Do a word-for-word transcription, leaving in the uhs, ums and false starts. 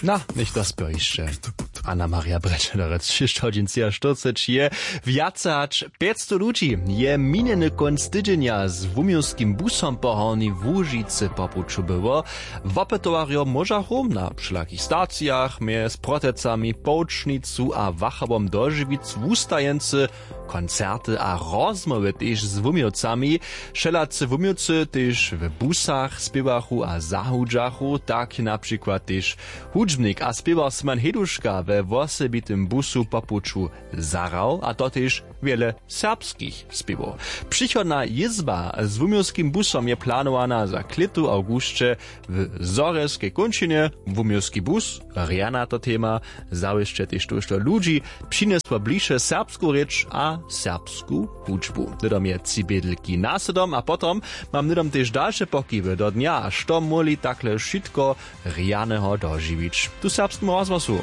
Na, něchtó spěr hišće. Anna Maria Brečelerec, šěsć hodźin třiaštyrceći je. Wjace hač pjećstow ludźi je minjeny kónc tydźenja z wuměłskim busom po Hornjej Łužicy po puću było. Wopytowarjo móžachu na wšelakich stacijach mjez Protecami, Połčnicu a Wachowom dožiwic wustajeńcy, koncerty a rozmołwy tež z wuměłcami. Wšelacy wuměłcy tež w busach spěwachu a zahudźachu, tak na přikład tež hudźbnik a spěwar Simon Heduška we wosebitym busu po puću zahrał, a to tež wjele serbskich spěwow. Přichodna jězba z wuměłskim busom je planowana za klětu w awgusće w Zhorjelskej kónčinje. Wuměłski bus rjana to tema zawěsće tež tójšto ludźi, přinjesło bliše serbsku rěč a serbsku hudźbu. Hnydom je tři bědlki nasydom a potom mam hnydom tež dalše pokiwy do dnja, što móhli takle wšitko rjaneho dožiwić tu w Serbskim rozhłosu.